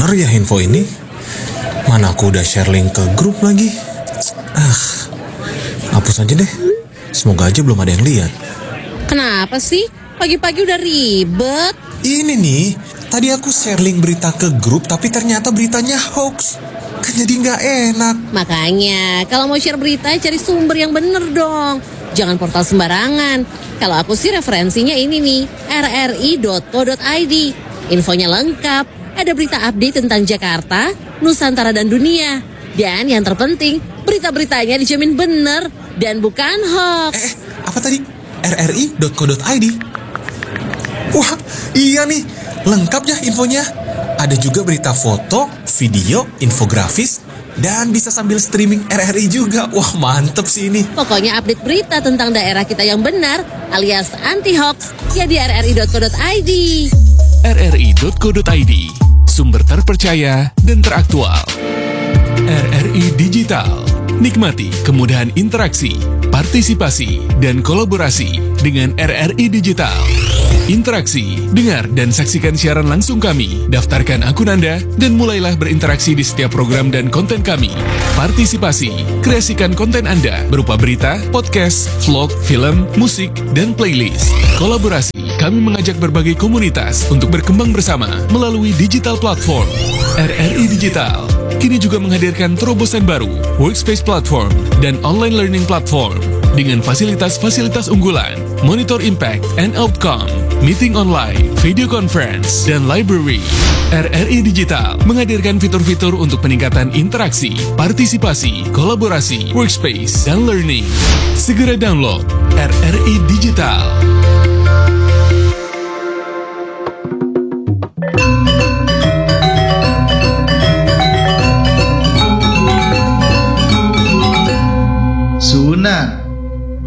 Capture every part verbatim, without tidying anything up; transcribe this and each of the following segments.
bener ya info ini? Mana aku udah share link ke grup lagi. Ah, hapus aja deh. Semoga aja belum ada yang lihat. Kenapa sih? Pagi-pagi udah ribet. Ini nih, tadi aku share link berita ke grup tapi ternyata beritanya hoax. Kan jadi nggak enak. Makanya, kalau mau share berita, cari sumber yang bener dong. Jangan portal sembarangan. Kalau aku sih referensinya ini nih, rri.co.id. Infonya lengkap, ada berita update tentang Jakarta, Nusantara dan dunia. Dan yang terpenting, berita-beritanya dijamin bener dan bukan hoax. Eh, apa tadi? rri.co.id. Wah, iya nih, lengkap ya infonya. Ada juga berita foto, video, infografis, dan bisa sambil streaming R R I juga. Wah, mantep sih ini. Pokoknya update berita tentang daerah kita yang benar alias anti hoax ya di rri.co.id. rri.co.id, sumber terpercaya dan teraktual. R R I Digital. Nikmati kemudahan interaksi, partisipasi, dan kolaborasi dengan R R I Digital. Interaksi, dengar dan saksikan siaran langsung kami. Daftarkan akun Anda dan mulailah berinteraksi di setiap program dan konten kami. Partisipasi, kreasikan konten Anda berupa berita, podcast, vlog, film, musik, dan playlist. Kolaborasi, kami mengajak berbagai komunitas untuk berkembang bersama melalui digital platform. R R I Digital kini juga menghadirkan terobosan baru, Workspace Platform dan Online Learning Platform dengan fasilitas-fasilitas unggulan, monitor impact and outcome, meeting online, video conference, dan library. R R I Digital menghadirkan fitur-fitur untuk peningkatan interaksi, partisipasi, kolaborasi, workspace, dan learning. Segera download R R I Digital. Sunan.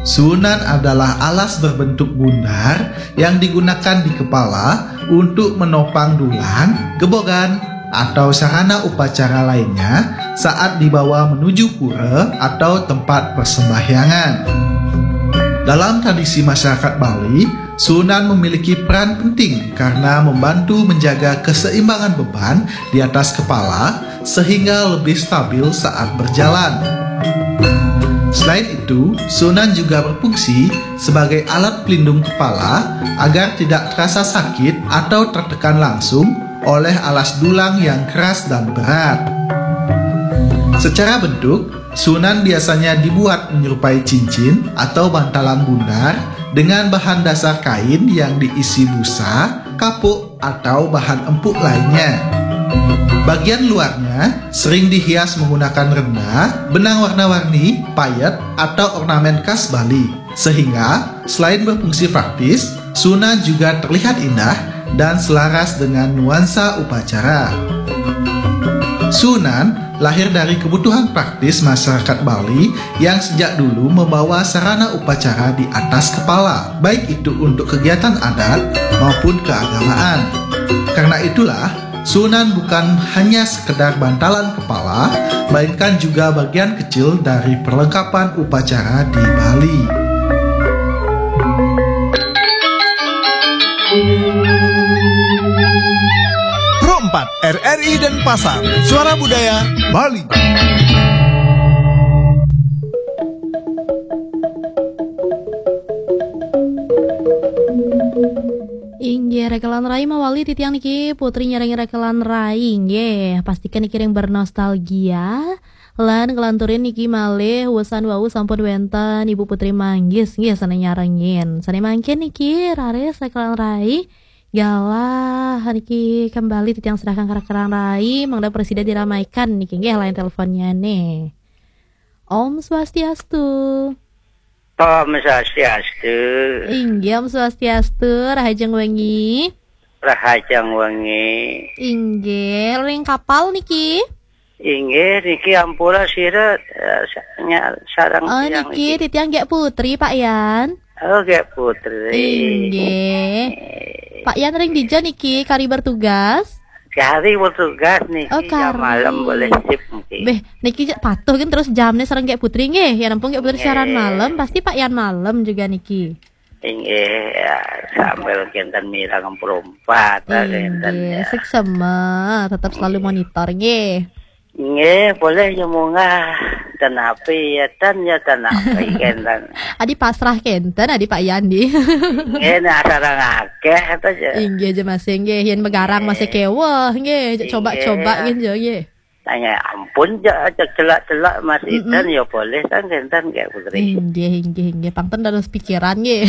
Sunan adalah alas berbentuk bundar yang digunakan di kepala untuk menopang dulang, gebogan, atau sarana upacara lainnya saat dibawa menuju pura atau tempat persembahyangan. Dalam tradisi masyarakat Bali, Sunan memiliki peran penting karena membantu menjaga keseimbangan beban di atas kepala sehingga lebih stabil saat berjalan. Selain itu, Sunan juga berfungsi sebagai alat pelindung kepala agar tidak terasa sakit atau tertekan langsung oleh alas dulang yang keras dan berat. Secara bentuk, Sunan biasanya dibuat menyerupai cincin atau bantalan bundar dengan bahan dasar kain yang diisi busa, kapuk, atau bahan empuk lainnya. Bagian luarnya sering dihias menggunakan renda, benang warna-warni, payet, atau ornamen khas Bali. Sehingga, selain berfungsi praktis, Sunan juga terlihat indah dan selaras dengan nuansa upacara. Sunan lahir dari kebutuhan praktis masyarakat Bali yang sejak dulu membawa sarana upacara di atas kepala, baik itu untuk kegiatan adat maupun keagamaan. Karena itulah, Sunan bukan hanya sekedar bantalan kepala, melainkan juga bagian kecil dari perlengkapan upacara di Bali. Pro empat, R R I dan Pasar, Suara Budaya Bali. Inggih, rekelan rai mawali titiang niki, Putri nyarengi rekelan rai, inggih. Pastikan niki ring bernostalgia. Lan kelanturin niki malih, wusan wau sampun wenten Ibu Putri Manggis, nggih, sane nyarengin. Sane mangkin niki, raris rekelan rai. Galah niki kembali titiang serahkan ke rekelan rai, mangda presida diramaikan niki, nggih, lain teleponnya nih. Om Swastiastu. Om Swastiastu. Inggih, Om Swastiastu, rahajeng wengi. Rahajeng wengi. Inggih, ring kapal niki. Inggih, niki ampura sira, eh, sa-, nya-, sareng Oh, tiyang niki titiang Gek Putri, Pak Yan. Oh, Gek Putri. Inggih. Pak Yan ring dija niki kari bertugas? Kari bertugas niki, Oh, jam kari. Malam boleh sip niki. Beh, niki patuh kan terus jamnya sareng Gek Putri nggih. Ya ampun, Gek Putri siaran malam, pasti Pak Yan malam juga niki. Inggih, ya, sambil kinten mireng perumpat, kinten, inggih, ya. Suksma, tetap selalu, inggih, monitor, nggih. Nggih, boleh ya munggah. Dan api ya, dan ya, dan api, kinten. Adi pasrah kinten, adi Pak Yandi. Nggih, nek asal ngakeh, to, ya. Inggih aja masih, nggih. Yen megarang, nggih, masih keweh, nggih. Coba-coba, inggih, nggih, nggih. Tanya ampun, ja, aja celak-celak Mas, mm-mm, Idan, ya boleh, kan, kinten, nggih, Putri. Inggih, inggih, inggih. Pang ten dados pikiran, nggih.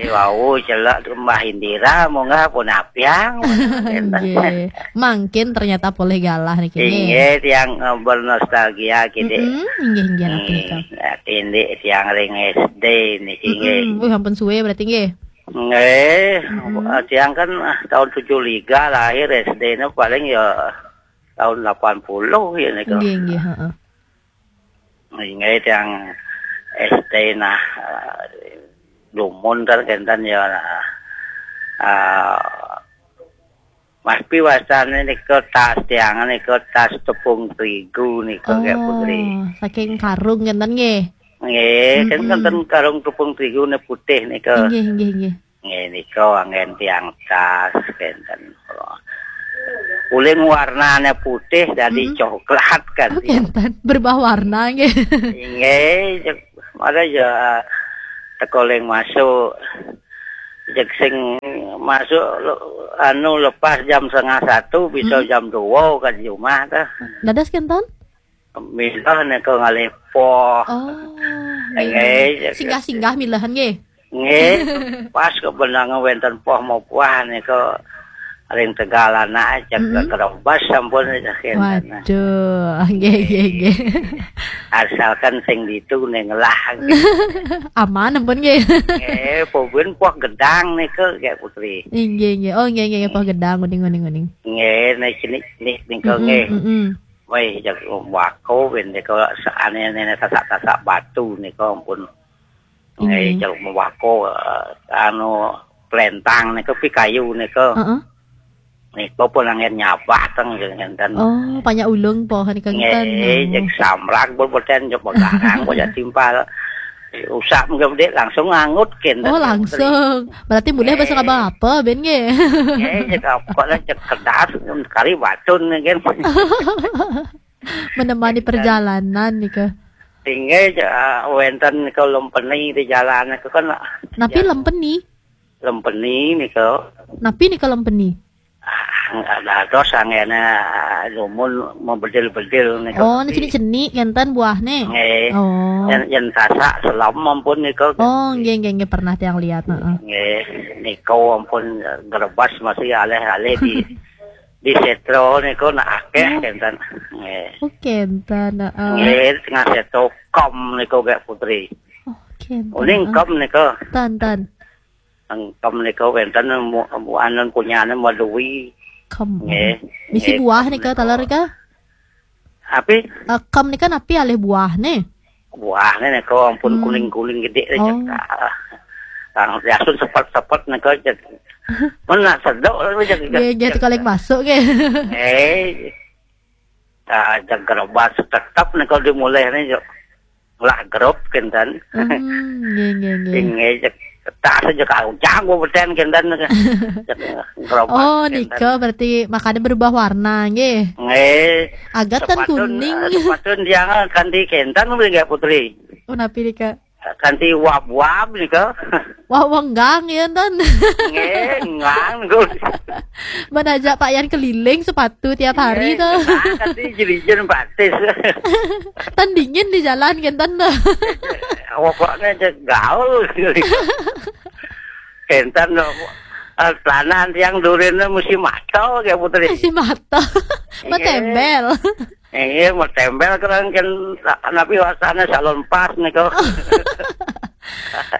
Eh, wau, celak Mbah Indira, munggah pun apiang, kinten. Inggih. Mangkin ternyata polih galah niki, nggih. Inggih, tiang, eh, bernostalgia, kidik. Mm-mm, inggih, inggih, napa, nggih, nika? Ya, kidik tiang ring S D niki, nggih. Mm-mm. Wih, ampun suwe berarti, nggih. Nggih, mm-mm, eh, tiang kan, ah, tahun tujuh tiga lahir, S D-ne paling ya tahun delapan puluh ya nika. Nggih, nggih, heeh. Inggih, tiang S D nah, eh, dumun kan kinten ya, nah. Ah, Mas Pi wastane nika tas tiang nika tas tepung terigu nika, nggih, Putri. Oh, saking karung kinten nggih. Nggih, kan, mm-mm, kinten karung tepung terigu ne putih nika. Inggih, inggih, inggih. Nggih, nika anggen tiang tas, kinten. Uling warnane putih dadi, mm-mm, coklat kan. Oh, kinten. Berubah warna, nggih. Inggih, cek, mara ya teko ling masuk. Cek sing masuk, lo-, anu, lepas jam setengah satu, bisa, mm-mm, jam dua ka di rumah, ta. Dados kinten? Milih nika ngalih poh. Oh, nggih, nggih, nggih. Singgah-singgah milehan nggih. Nggih, pas kebenangan wenten poh mau puah nika ring Tegal anak, cek, mm-mm, kerebas sampun, cek, kinten. Waduh, nggih, nggih, nggih. Asalkan sing ditu ning lah. Aman ampun nggih. Nggih, pun poh gedang nika, nggih, Putri. Inggih, inggih. Oh, nggih, nggih, nggih, poh gedang, uning, uning, uning. Nggih, nek cenik-cenik nika, mm-mm, nggih. Mm-mm. Wih, jak wako ben nika seane-ane tasak-tasak batu nika ampun. Nggih, inggih, jak wako, eh, anu, plentang nika pi kayu nika. Heeh. Nika pun anggen nyabah teng ngenten. Oh, panjak ulung poh nika ngenten. Nggih, jak samrak pun boten, jak begarang pun jak timpal. Usap nggih, Dik, langsung ngangut kinten. Oh, langsung. Berarti mulih basa, nggih, ngabang apa, ben nggih? Nggih, cek apa lah, cek kedas, kari batun nggih. Menemani perjalanan nika. Inggih, cek, ah, wenten nika lempeni di jalan nika kan. Napi ya, lempeni? Lempeni nika. Napi nika lempeni? Ah, enggak dados anggene, ah, dumun mebedil-bedil nika. Oh, ni cenik-cenik ngenten buahne. Nggih. Oh. Yen, yen tasak selem ampun nika. Oh, nggih, nggih, nggih, pernah tiang lihat, heeh. Nggih, nika ampun, eh, grebas masih alih-alih di, di setro nika nak akeh, oh, kenten. Nggih. Oh, kenten, heeh. Nggih, tengah setro kom nika, Kak Putri. Oh, kenten, uning, heeh, kom nika. Ten, ten. Engkem nika wenten mu-, mu-, anun punyane Meluwi. Kem. Nggih. Misi, nggih, buah kem nika, nika. Taler nika? Api? Eh, kem nika napi alih buahne? Buahne nika ampun, hmm, kuning-kuning gede nika. Oh. Tang diasun sepet-sepet nika, jeg. Men nak sedok nika, jeg, nggih, nggih, jeg, tukang masuk nggih. Nggih. Ah, jeg gerebas tetep nika dimulih nika, jeg. Lah grup kenten. Hmm, nggih, nggih, nggih. Inggih, cek, tas aja kau janggo beten kenten. Cek, gerobak, oh, kenten. Nika berarti makanya berubah warna, nggih. Nggih. Agat kan sepatun, kuning. Eh, sepatun tiang kanti kenten, nggih, Putri. Oh, napi nika? Kanti wab-wab nika. Wah, wenggang ya, Tan. Nggih, enggang niku. Menajak Pak Yan keliling sepatu tiap hari, nggih, to. Nah, kanti jerijen batis. Tan dingin di jalan, kenten, to. Pokoknya cek gaul. Kenten, to. Eh, celana tiang durine mesti mato, ya, Putri. Mesti mato. Nggih. Metembel. Nggih, metembel kerang ken, napi wasane salon pas niku.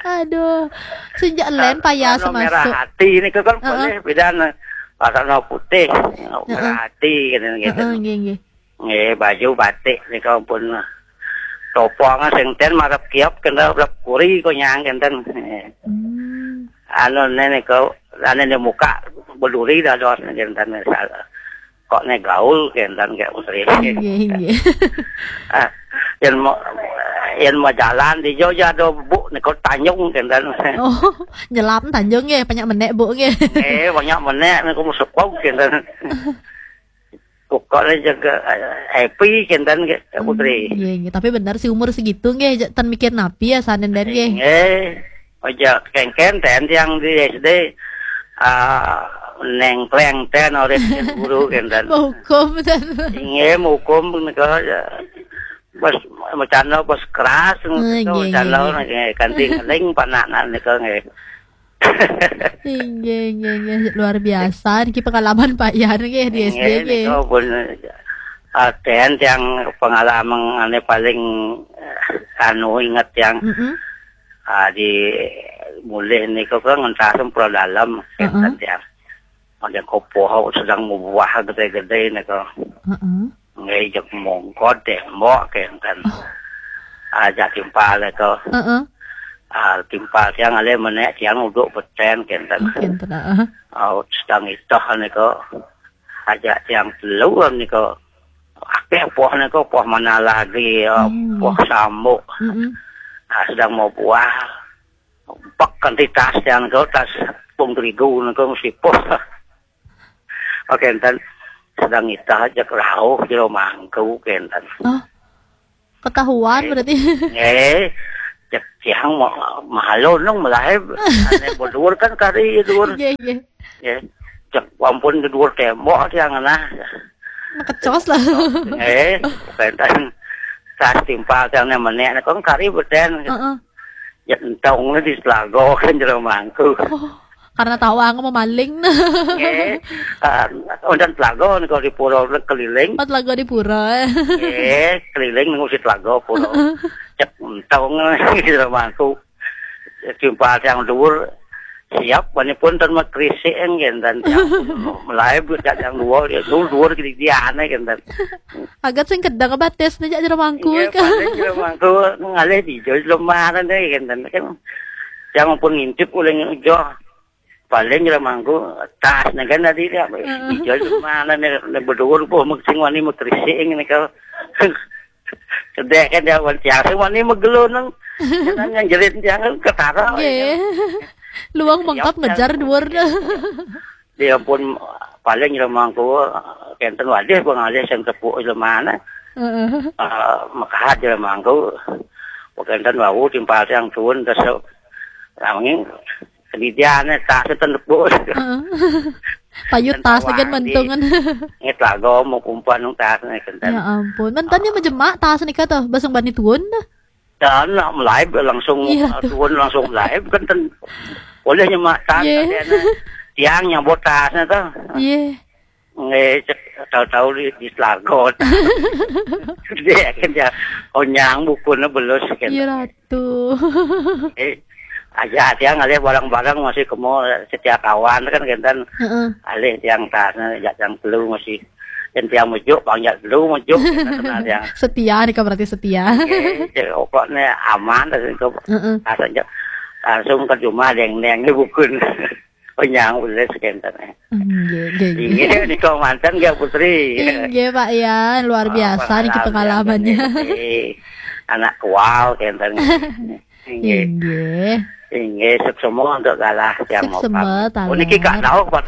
Aduh, sejak len payah. Warna merah masuk. Hati niku kan, heeh, boleh bedane. Warna putih, heeh, merah hati, gitu, gitu. Heeh, nggih, nggih. Nggih, baju batik niku pun topong sing ten marep kiop kena rep kuri konyang kenten. Hmm. Anu ne niku, ane ne muka beduri dados kenten misal. Kok ne gaul kenten kayak Putri. Nggih, nggih. Ah, yen mau Yen mau jalan di Jogja ada buk nika Tanjung kenten. Oh, nyelam Tanjung nggih, banyak menek buk nggih. Eh, banyak menek nika mau sepok kenten. Pokoknya jaga, eh, happy kenten nggih, Kak Putri. Hmm, nggih, nggih. Tapi bener sih umur segitu nggih, ja-, ten mikir napi ya sanen den nggih. Nggih. Aja kengken ten yang di S D, ah, nengkleng ten orang guru kenten. Mau hukum ten. Nggih, mau hukum nika ya. Bos, macana bos keras, Ah, nggih, nggih, macana nggih. Nggih, kanti ngeling panakna nika nggih. Inggih, inggih, inggih. Luar biasa niki pengalaman Pak Yan nggih di S D Nggih, nggih. Nika pun, ah, ten yang pengalaman ane paling, eh, anu inget yang, Mm-mm. Ah, di mulih nika kan ngentas pro dalam Heeh. Kenten yang. Ada kopoh sedang buah gede-gede nika. Heeh. Nggih, jek mongkot tembok kenten. Oh. Aja timpal itu. Heeh. Ah, timpal tiang alih menek tiang uduk beten kenten. Oh, kenten, heeh. Ah, sedang itoh niku. Aja tiang telu niku. Akeh poh niku, poh mana lagi, ah, Hmm. Poh sambuk. Mm-mm. Ah, sedang mau buah. Pak kanti tas tiang niku, tas tepung terigu niku mesti poh. Oke, enten sedang itah aja rauh jero mangku kenten. Oh. Ketahuan Eh, berarti. Eh, cek tiang ma-, malu nung melaib. Ane bodur kan kari dur. Nggih, nggih. Ya. Cek ampun ke dur tembok tiang nah. Makecos lah. Eh, kenten tas timpal tiang ne menek ne kong kari beten. Heeh. Ya entong di Selago kan jero mangku. Oh, karena tahu aku mau maling. Nggih. Ah, wonten telaga nika di pura keliling. Oh, telaga di pura. Nggih, keliling ning usit telaga pura. Cek entong di rumahku. Jumpa yang dhuwur siap, wani pun ten mekrisik nggih, ten yang mulai budak yang dhuwur, ya, dhuwur, dhuwur gede diane nggih, ten. Agat sing kedang batis nih, jero mangku. Nggih, paling jero mangku ngalih di jero lemah, ten, nggih, ten. Kan yang pun ngintip oleh ngejoh. Paling jero mangku tas nih kan tadi dia. Heeh. Ijo mana nih, nih bedul po mek sing wani mekrisik ngene ka. Sedek kan dia wan tiang sing wani megelo nang. Kan yang jerit tiang kan ketara. Nggih. Luang mengkap ngejar dhuwur. Dia pun paling jero mangku kenten wadih pengalih sing tepuk jero mana. Heeh. Eh, mekahat jero mangku. Kenten wau timpal tiang tuun terus nanging Kemudian tas ten tepuk. Heeh. Payut tas kan mentungan. Nget lago mau kumpulan nang tas nih kenten. Ya ampun. Menten ya mejemak tas nih kata basang bani tuun dah. Dan nak melaib langsung, Iya, tuh. Tuun langsung melaib kan ten. Boleh nyemak tas. Iya. Tiang nyabot tasnya tuh. Iya. Nggih, cek tahu-tahu di, di Selago. Dia kan ya, onyang bukune belus kan. Iya, Ratu. Eh, aja dia ngalih barang-barang masih kemo setia kawan kan kenten. Heeh. Alih tiang tas, jak tiang telu masih. Dan tiang mejuk, panjat telu mejuk, kenten kenal tiang. Setia nih, berarti setia. Nggih, cek pokoknya aman, terus itu Heeh. Langsung ke rumah, deng-deng, ini bukun. Penyang ulis kenten. Nggih, nggih, nggih. Inggih nika manten nggih Putri. Inggih, Pak Yan, luar biasa niki pengalamannya. Anak kual kenten. Inggih. Inggih. Inggih, suksema untuk galah tiang. Suksema, taler. Oh, niki Kak Daud, Pak.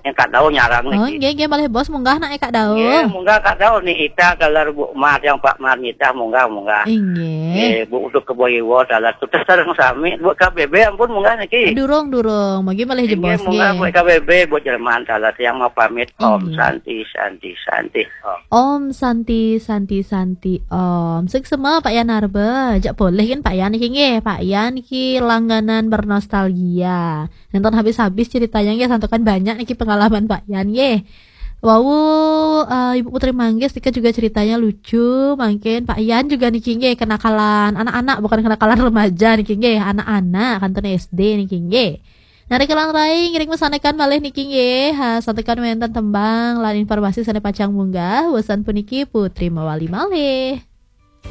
Yang Kak Daud nyarang niki. Oh, nggih, nggih, malih bos munggah nak Kak Daud. Nggih, munggah Kak Daud nih, kita galar Bu Mar yang Pak Mar nitah munggah, munggah. Inggih. Eh, Bu, untuk ke Boyewol, dalah tutas sareng sami. Buat K B B ampun munggah niki. Durung, durung. Mungkin malih jebos nggih. Munggah buat K B B, buat Jerman, dalah tiang mau pamit. Om Santi, Santi, Santi. Om. Om Santi, Santi, Santi, Om. Suksema Pak Yan Arba. Jak boleh kan Pak Yan niki nggih. Pak Yan niki langganan bernostalgia. Nonton habis-habis ceritanya nggih, santukan banyak niki pengalaman Pak Yan nggih. Wau, eh, Ibu Putri Manggis nika juga ceritanya lucu. Mungkin Pak Yan juga niki nggih kenakalan anak-anak, bukan kenakalan remaja niki nggih, anak-anak kanten S D niki nggih. Nah, rikala rai ngiring mesanekan malih niki nggih, ha, santukan wenten tembang lan informasi sane pacang munggah. Wesan puniki Putri mawali malih.